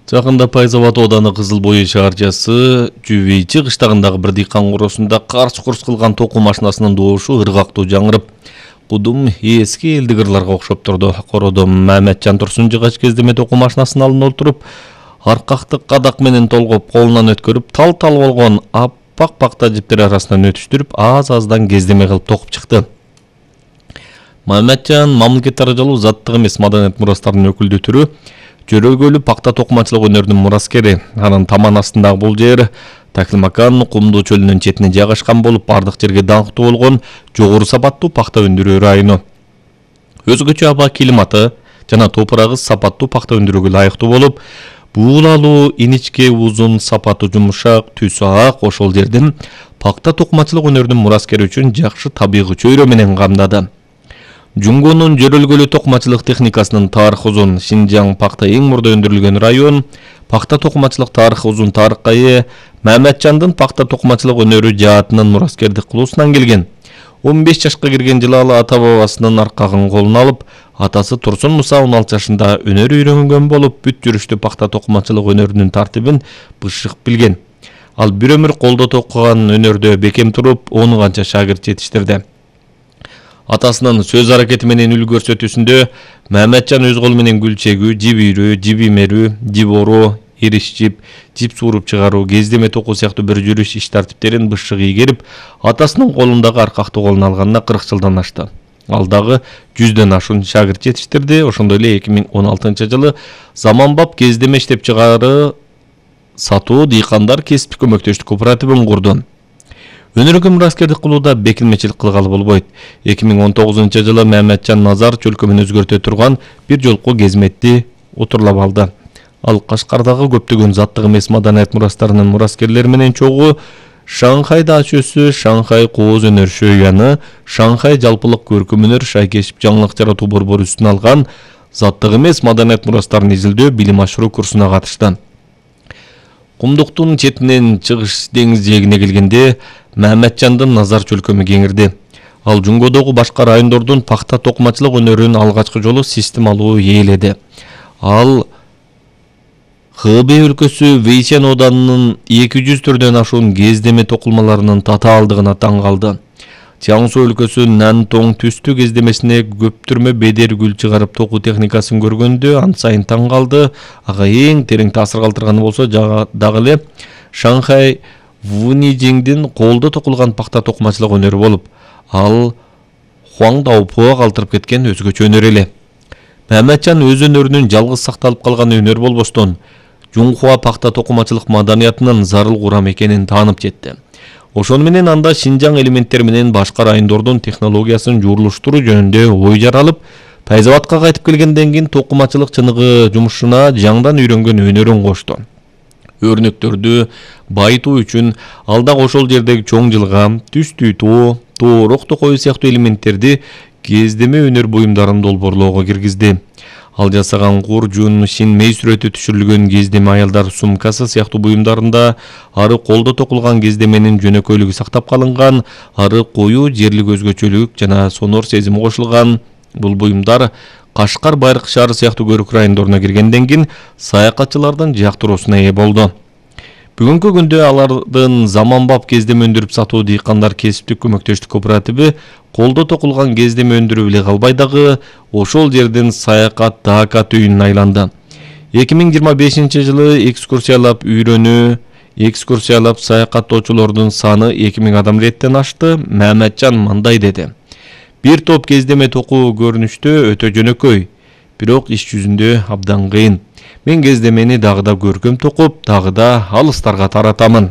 Жакында Пайзават ооданы Кызыл Бой шаарчасы Жүбейчи кыштагындагы бир дыйкан короосунда карч-курч кылган токуу машинасынын добушу ыргактуу жаңырып, кудум эски элдик ырларга окшоп турду. Короодо Маматжан Турсун жыгач кездеме токуу машинасынын алдына отуруп, аркакты кадак менен толгоп колунан өткөрүп, тал-тал болгон аппак пакта жиптер арасынан өтүштүрүп, аз-аздан кездеме кылып токуп чыкты. Маматжан мамлекет даражалуу заттык эмес маданият мурастарынын өкүлдүү түрү, жөрөгөлүү пакта токумачылык өнөрүнүн мураскери. Анын таман астындагы бул жер Такилмакан кумдуу чөлүнүн четине жайгашкан болуп, бардык жерге даңктуу болгон жогору сапаттуу пакта өндүрүү району. Өзгөчө аба климаты жана топурагы сапаттуу пакта өндүрүүгө ылайыктуу болуп, буулалуу, иничке, узун, сапаты жумшак, түсү ак ошол жердин пакта токумачылык өнөрүнүн мураскери үчүн жакшы табигый чөйрө менен камдады. Жунгонун жөрөлгөлүү токумачылык техникасынын тарыхы узун. Шинжаң пакта эң мурда өндүрүлгөн район. Пакта токумачылык тарыхы узун тарыкка ээ. Маматжандын пакта токумачылык өнөрү жаатынын мураскердик кылуусунан келген. 15 жашка кирген жылы ал ата бабасынын аркагын колуна алып, атасы Турсун Муса 16 жашында өнөр үйрөнгөн болуп, бүт жүрүштүү пакта токумачылык өнөрүнүн тартибин бышык билген. Ал бир өмүр колдо токуган өнөрдө бекем туруп, 10 канча шагирт жетиштирди. Атасынын сөз аракети менен үл көрсөтүүсүндө Маматжан өз колу менен гүл чегүү, жип үйрүү, жип имерүү, жип ороо, ириш жип сууруп чыгаруу, кездеме токуу сыяктуу бир жүрүш иш тартиптерин бышык ийгерип, атасынын колундагы аркакты колуна алганына 40 жылдан ашты. Ал дагы 100дөн ашуун шагирт жетиштирди. Ошондой эле 2016-жылы заманбап кездеме иштеп чыгары сатуу дыйкандар кесиптик көмөктөштүк кооперативин курду. Өнөргө мураскердик кылууда бекилмечилик кылгалы болбойт. 2019-жылы Маматжан Назар чөлкөмүн өзгөртө турган бир жолку кезметти отурлап алды. Ал Кашкардагы көптөгөн заттык эмес маданият мурастарынын мураскерлери менен чогуу Шанхай даачөсү, Шанхай кооз өнөр шөйяны, Шанхай жалпылык көркөм өнөр шайкешип жаңылык жаратуу борбору үстүнө алган заттык эмес маданият мурастарын изилдөө билим ашыруу курсуна катышты. Кумдуктун четинен чыгыш деңиз жээгине келгенде Маматжандын Назар чөлкөмү кеңирди. Ал Жунгодогу башка райондордун пакта токумачылык өнөрүн алгачкы жолу системалуу ээледи. Ал Хэбэй өлкөсү Вэйсян ооданынын 200 түрдөн ашуун кездеме токулмаларынын татаалдыгына таң калды. Чаңсу өлкөсү Нантоң түстүү кездемесине көптүрмө бедер гүл чыгарып токуу техникасын көргөндө ан сайын таң калды. Ага эң терең таасир калтырганы болсо дагы эле Шанхай Вунижиңдин колдо токулган пакта токумачылык өнөрү болуп, ал Хуаңдаупуга калтырып кеткен өзгөчө өнөр эле. Маматжан өз өнөрүнүн жалгыз сакталып калган өнөр болбостон, Жунхуа пакта токумачылык маданиятынын зарыл курам экенин таанып жетти. Ошону менен анда Шинжаң элементтери менен башка райондордун технологиясын жуурулуштуруу жөнүндө ой жаралып, Пайзаватка кайтып келгенден кийин токумачылык чыныгы жумушуна жаңдан үйрөнгөн өнөрүн кошту. Өрнөктөрдү байытуу үчүн ал дагы ошол жердеги чоң жылгам, түстүү тоо, тоорок токою сыяктуу элементтерди кездеме өнөр буюмдарын долбоорлоого киргизди. Ал жасаган кур, жун, шин мей сүрөтү түшүрүлгөн кездеме аялдар сумкасы сыяктуу буюмдарында ары колдо токулган кездеменин жөнөкөйлүгү сактап калынган, ары коюу, жерлик өзгөчөлүк жана сонор сезими кошулган. Бул буюмдар Кашкар, Байыркы шаары сыяктуу көрүк райондоруна киргенден кийин саякатчылардын жактыруусуна ээ болду. Бүгүнкү күндө алардын заманбап кездеме өндүрүп сатуу дыйкандар кесиптик көмөктөштүк кооперативи колдо токулган кездеме өндүрүп эле калбай дагы ошол жердин саякат даакат үйүнүн айланды. 2025-жылы экскурсиялап үйрөнүү, экскурсиялап саякаттоочулордун саны 2000 адам реттен ашты. Маматжан мындай деди: бир топ кездеме токуу көрүнүштө өтө жөнөкөй, бирок иш жүзүндө абдан кыйын. Мен кездемени дагы да көркөм токуп, дагы да алыстарга таратамын.